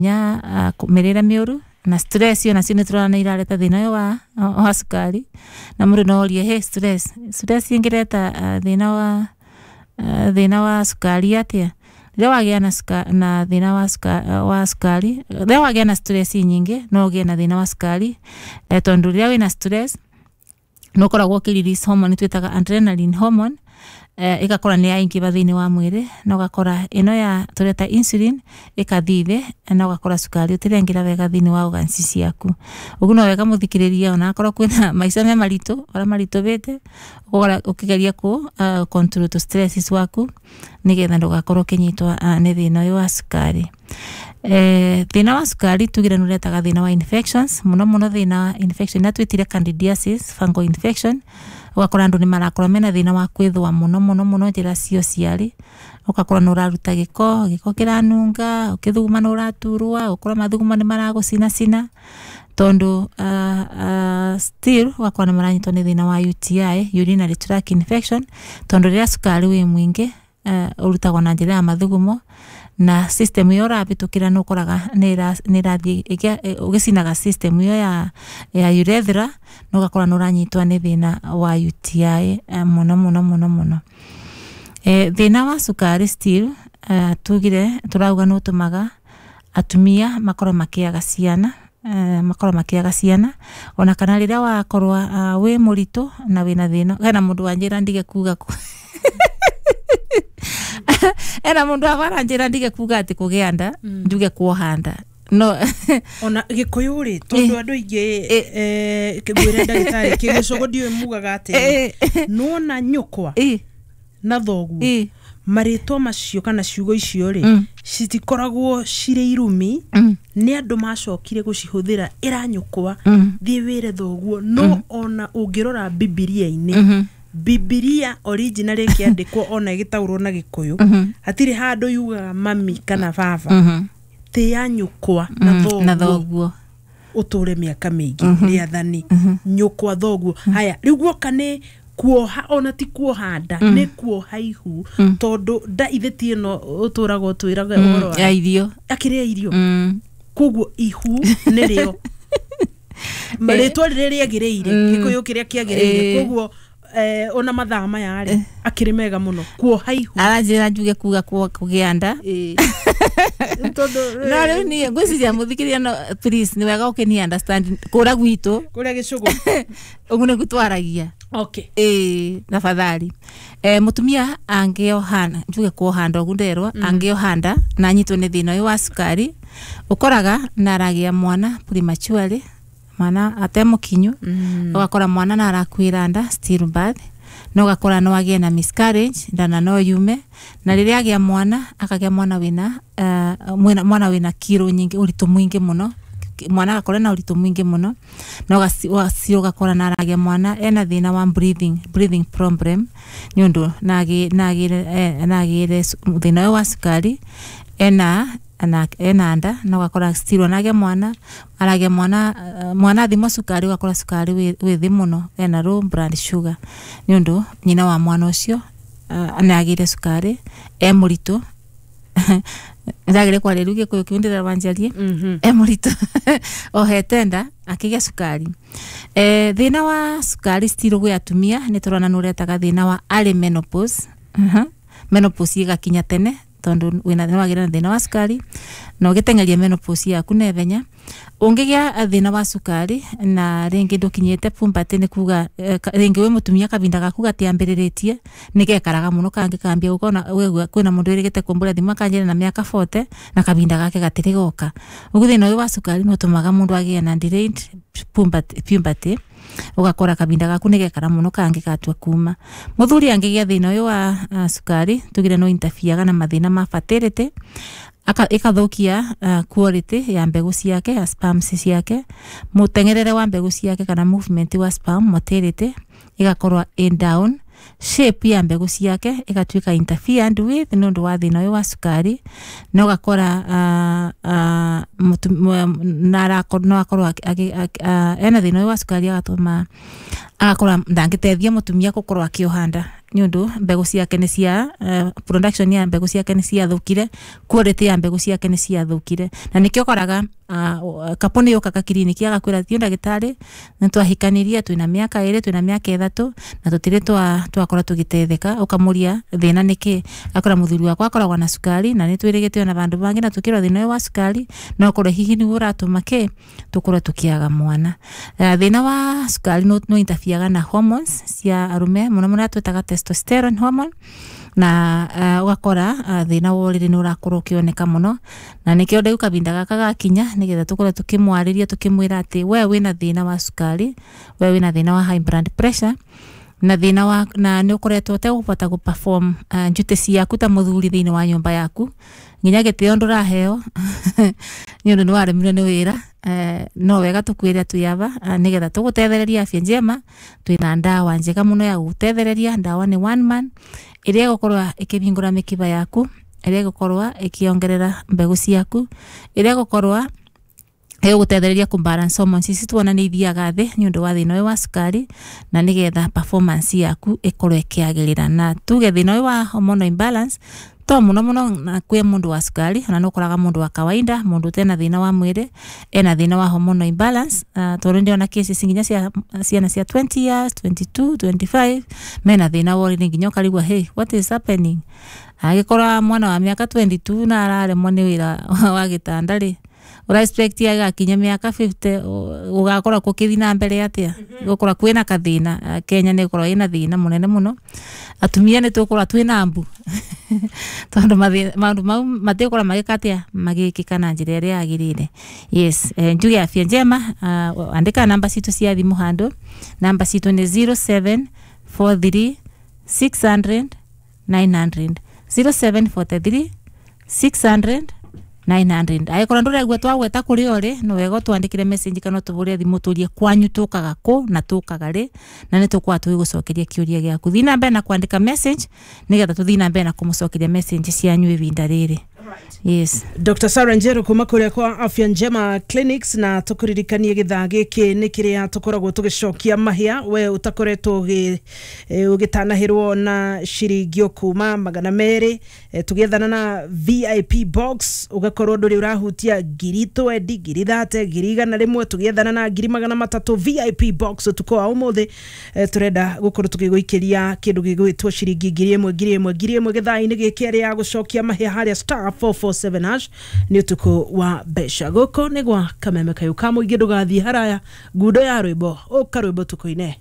Nya mĩrĩre mĩũru na stress yo nacio nĩ tũrona nĩ irareta thĩna ũyũ wa cukari. Na mũndũ no orie, "Hey, stress ĩngĩreta thĩna wa cukari atĩa?" Rĩrĩa wagĩa na thĩna wa cukari, rĩrĩa wagĩa na stress nyingĩ, no ũgĩe na thĩna wa cukari, tondũ rĩrĩa wĩna stress nĩ ũkoragwo ũkĩ release hormone twĩtaga adrenaline hormone, ĩgakora nĩ yaingĩba thĩinĩ wa mwĩrĩ, na ũgakora ĩno ya tũreta insulin ĩkathiĩ thĩ, na ũgakora cukari ũtĩrengĩra wega thĩinĩ wa organs ciaku. Ũguo no wega mũthikĩrĩria, ona akorwo kwĩna maica me maritũ ũrĩa maritũhĩte, ũgakora ũkĩgeria kũ control tũ stresses waku nĩgetha ndũgakorwo ũkĩnyitwo nĩ thĩna ũyũ wa cukari. Thĩna wa cukari tugire nĩ ũretaga thĩna wa infections, mũno mũno thĩna wa infection ĩrĩa twĩtire candidiasis, fungal infection. Ũgakora andũ nĩ marakorwo mena thĩna wa kwĩthũa mũno mũno mũno njĩra cia ũciari. Ũgakora nĩ ũraruta gĩko, gĩko kĩranunga, ũkĩthuguma nĩ ũraturwo, ũkora mathugumo nĩ maragũcinacina, tondũ still ũgakora nĩ maranyitwo nĩ thĩna wa UTI, urinary tract infection, tondũ rĩrĩa cukari wĩ mũingĩ, ũrutagwo na njĩra ya mathugumo, na system ĩyo ũrabĩtũkĩra nĩ ũkoraga nĩ ĩrathiĩ ũgĩcinaga system ĩyo ya urethra, na ũgakora nĩ ũranyitwo nĩ thĩna wa UTI mũno mũno mũno mũno. Thĩna wa cukari still, tugire tũrauga nĩ ũtũmaga atumia makorwo makĩaga ciana, makorwo makĩaga ciana, ona kana rĩrĩa wakorwo wĩ mũritũ na wĩna thĩna. Hena mũndũ wanjĩra ndige kuga, ena mũndũ abaranjĩra ndige kuga atĩ kũgĩa nda, njuge kuoha nda no. Ona gĩkũyũ rĩ, tondũ andũ aingĩ, ngwĩre ndagĩtarĩ, kĩgĩcũgũ ndiũĩ mugaga atĩa, nĩwona nyũkwa na thoguo, marĩtwa macio kana ciugo icio rĩ, citikoragwo cirĩ irumi. Nĩ andũ macokire gũcihũthĩra, ĩra nyũkwa, thiĩ wĩre thoguo. No ona ũngĩrora Bibilia-inĩ, Bibilia original ĩkĩandĩkwo ona ĩgĩtaũrwo na Gĩkũyũ, hatirĩ handũ yugaga mami kana baba. Tĩa nyũkwa na na thoguo, thoguo, ũtũre mĩaka mĩingĩ. Rĩathani, nyũkwa, thoguo. Haya, rĩu guoka nĩ kuoha, ona ti kuoha nda, nĩ kuoha ihu, tondũ nda ithe ti ĩno ũtũraga ũtwĩraga ũhoro wa ya irio. Akĩrĩa irio. Koguo ihu nĩrĩo rĩtwa rĩrĩa rĩagĩrĩire, Gĩkũyũ kĩrĩa kĩagĩrĩire. Koguo ona mathaa maya rĩ, akĩrĩ mega mũno kuoha ihu. Aranjĩra njuge kuga kũgĩa nda. Tondũ No rĩu niĩ ngwĩciria mũthikĩria, no please, nĩ wega ũkĩni understand kũra gwitũ. Kũrĩa gĩcũgũ. Ũguo nĩguo twaragia. Ĩĩ, tafadhali, mũtumia angĩoha, njuge kuoha nda, ũguo nderwo, angĩoha nda na anyitwo nĩ thĩna ũyũ wa cukari, ũkoraga na aragĩa mwana prematurely, mwana atemũkinyu. Ũgakora mwana na arakuĩra nda still birth, na ũgakora no agĩe na miscarriage, ndana no yume. Na rĩrĩa agĩa mwana, akagĩa mwana wĩna mwana wĩna kiro nyingĩ, ũritũ mũingĩ mũno. Mwana agakorwo na ũritũ mũingĩ mũno, na ũgakora na aragĩa mwana ena thĩna wa breathing problem, nĩ ũndũ nagĩre thĩna ũyũ wa cukari ena nda. Na ũgakora still onagĩa mwana, aragĩa mwana, mwana athimwo cukari, ũgakora cukari wĩ thĩ mũno, ena low blood sugar, nĩ ũndũ nyina wa mwana ũcio nĩ agĩire cukari e mũritũ. Ndagĩrĩ kwaria rĩu Gĩkũyũ kĩu ndĩrera wanjarie. E mũritũ, ohete nda, akĩgĩa cukari. Thĩna wa cukari still gwĩ atumia nĩ tũrona nĩ ũretaga thĩna wa early menopause. Menopause ĩgakinya tene, tondũ wĩna nĩ wagĩra na thĩna wa cukari na ũgĩteng'eria menopause yaku naihenya. Ũngĩgĩa thĩna wa cukari na rĩngĩ ndũkinyĩte puberty, nĩ kuga rĩngĩ wĩ mũtumia kavinda gaku gatiambĩrĩrĩtie, nĩ gekaraga mũno kangĩkambia gũkona. Wegua kwĩna mũndũ wĩrĩgĩte kũmbũra thimũ akanjĩra na mĩaka 40 na kavinda gake gatirĩ goka. Ũguo thĩna ũyũ wa cukari nĩ ũtũmaga mũndũ agĩe na delayed puberty, ũgakora kavinda gaku nĩ gekara mũno kangĩgatua kuma. Mũthuri angĩgĩa thĩna ũyũ wa cukari, tugire no interferega na mathĩna ma fertility, ĩkathũkia quality ya mbegũ ciake, ya sperms ciake, mũteng'erere wa mbegũ ciake kana movement wa sperm, motility ĩgakorwo in down, shape ya mbegũ ciake ĩgatuĩka interfered with nĩ ũndũ wa thĩna ũyũ wa cukari. Na ũgakora na no akorwo ena thĩna ũyũ wa cukari, agatũma agakora ndangĩteithia mũtumia gũkorwo akĩoha nda. nĩ ũndũ mbegũ ciake nĩ cia production ya mbegũ ciake nĩ ciathũkire, quality ya mbegũ ciake nĩ ciathũkire, na nĩkĩo ũkoraga kapo nĩ yũkaga kiriniki agakwĩra thiĩ ndagĩtarĩ nĩ twahikanirie twĩna mĩaka 2 twĩna mĩaka 3 na tũtirĩ twakorwo tũgĩteithĩka. Ũkamũria thĩna nĩkĩ, akora mũthuri wakwa akoragwo na cukari na nĩ twĩrĩgĩte ona vandũ vangĩ na tũkĩrwo thĩna ũyũ wa cukari no ũkorwo hihi nĩguo ũratũma kĩ tũkorwo tũkĩaga mwana. Thĩna wa cukari no interfereaga na hormones cia arume mũno mũno twĩtaga testosterone hormone, na ũgakora thĩna wa ũrĩrĩ nĩ ũrakorwo ũkĩoneka mũno, na nĩkĩo ndĩu kahinda gaka gakinya nĩgetha tũkorwo tũkĩmwarĩria tũkĩmwĩra atĩ we wĩna thĩna wa cukari, we wĩna thĩna wa high blood pressure na thĩna wa na nĩ ũkoretwo ũtegũbota gũ perform duty ciaku ta mũthuri thĩinĩ wa nyũmba yaku, nginya gĩtĩo ndũraheo nĩ ũndũ nĩ waremirwo nĩ wĩra. No wega tũkwĩre twĩ aba nĩgetha tũgũtethereria Afya Njema. Twĩna ndawa njega mũno ya gũgũtethereria. Ndawa nĩ one man ĩrĩa ĩgũkorwo ĩkĩhingũra mĩkiba yaku, ĩrĩa ĩgũkorwo ĩkĩongerera mbegũ ciaku, ĩrĩa ĩgũkorwo ĩgũgũtethereria kũ balance hormones ici tuona nĩ ithiaga thĩ nĩ ũndũ wa thĩna ũyũ wa cukari, na nĩgetha performance yaku ĩkorwo ĩkĩagĩrĩra. Na tuge thĩna ũyũ wa hormonal imbalance to mũno mũno na kwĩ mũndũ wa cukari, ona no ũkoraga mũndũ wa kawaida, mũndũ ũtena thĩna wa mwĩrĩ ena thĩna wa hormonal imbalance. Tondũ ndĩrona cases nginya cia ciana cia 20 years, 22, 25 mena thĩna wa ũrĩrĩ, nginya ũkarigwo, hey, what is happening? Angĩkorwo mwana wa mĩaka 22 na araremwo nĩ wĩra wa gĩtanda rĩ, ũra expect agakinya mĩaka 50 gũgakorwo gũkĩthiĩ na mbere atĩa? Gũkorwo kwĩna kathĩna. Kenya nĩ ĩkorwo ĩna thĩna mũnene mũno, atumia nĩ tũgũkorwo twĩna mbu tondũ maũndũ mau matigũkorwo magĩka atĩa, magĩkĩka na njĩra ĩrĩa yagĩrĩire. Yes, njuge Afya Njema. Andĩka namba citũ cia thimũ handũ. Namba citũ nĩ 0743 600 900, 0743 600 900. Angĩkorwo ndũraigua twagweta kũrĩa ũrĩ, no wega ũtwandĩkĩre message kana ũtũhũrĩre thimũ ũtũrie kwanyu tũkaga kũ na tũkaga rĩ, na nĩ tũkorwo tũgĩgũcokeria kĩũria gĩaku. Thiĩ na mbere na kwandĩka message nĩgetha tũthiĩ na mbere na kũmũcokeria message cianyu ihinda rĩrĩ. Yes. Dr. Sarah Njeru kuma kuria kwa Afya Njema Clinics, na tukuririkanie githaa giki ni kiria tukoragwo tugicokia mahia we utakoretwo ugitanahirwo na ciringi kuma 200, tugiethana na VIP box ugakorwo nduri urahutia 20,000, 30,000, 100,000, tugiethana na 300,000 VIP box utuko wa umuthi. Turenda gukorwo tugiguikiria kindu gigwitwo ciringi 1,000 1,000 1,000 githaa-ini giki aria gucokia mahia haria star 447 hash ni utuku wa mbeca. Guku ni gwa Kameme Kayu ka muingi, ndugathie haraya, ngundo ya rwimbo uka rwimbo tukuine.